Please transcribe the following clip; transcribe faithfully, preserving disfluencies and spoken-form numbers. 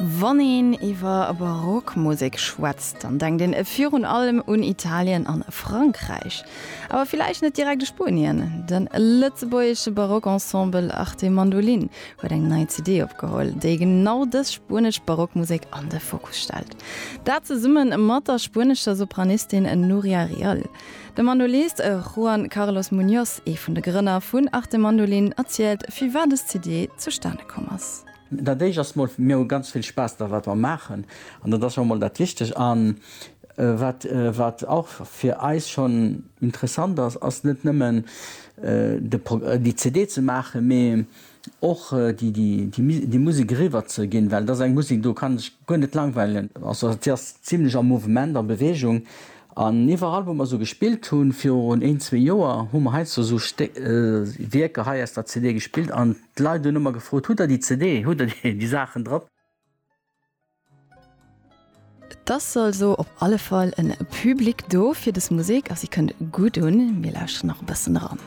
Wann een iwwer Barockmusek schwätzt, dann denkt een virun allem un Italien an Frankräich. Awer villäicht net direkt u Spuenien. De lëtzebuergesche Barockensemble Arte Mandolin huet eng nei C D opgeholl, déi genau dës spuenesch Barockmusek an de Fokus stellt. Dat zesumme mat der spuenescher Sopranistin Nuria Rial. De Mandolist Juan Carlos Muñoz, ee vun de Grënner vun Arte Mandolin, erzielt, firwat dës C D zustane komm ass. Dat éischt ass mol, mir hu ganz vill Spaass da wat mer maachen an dat ass scho mol dat Wichtegt. An wat wat och fir eis schonn interessant ass, ass net nëmmen de déi C D ze maachen, mee och déi déi déi Musek eriwwer ze ginn, well dat ass eng Musek, do kann ech guer net langweilen. Also déi ass zimlech am Mouvement, a Beweegung. An iwwerall wou mer sou gespillt hunn virun een, zwee Joer, hu mer heiansdo sou Wierker hei aus der C D gespillt an d'Leit hunn ëmmer gefrot, hutt der déi C D, hutt der déi Saachen drop? Et ass also op alle Fall en Public do fir dës Musek a si kënnt gutt un. Mir lauschteren nach e bëssen eran.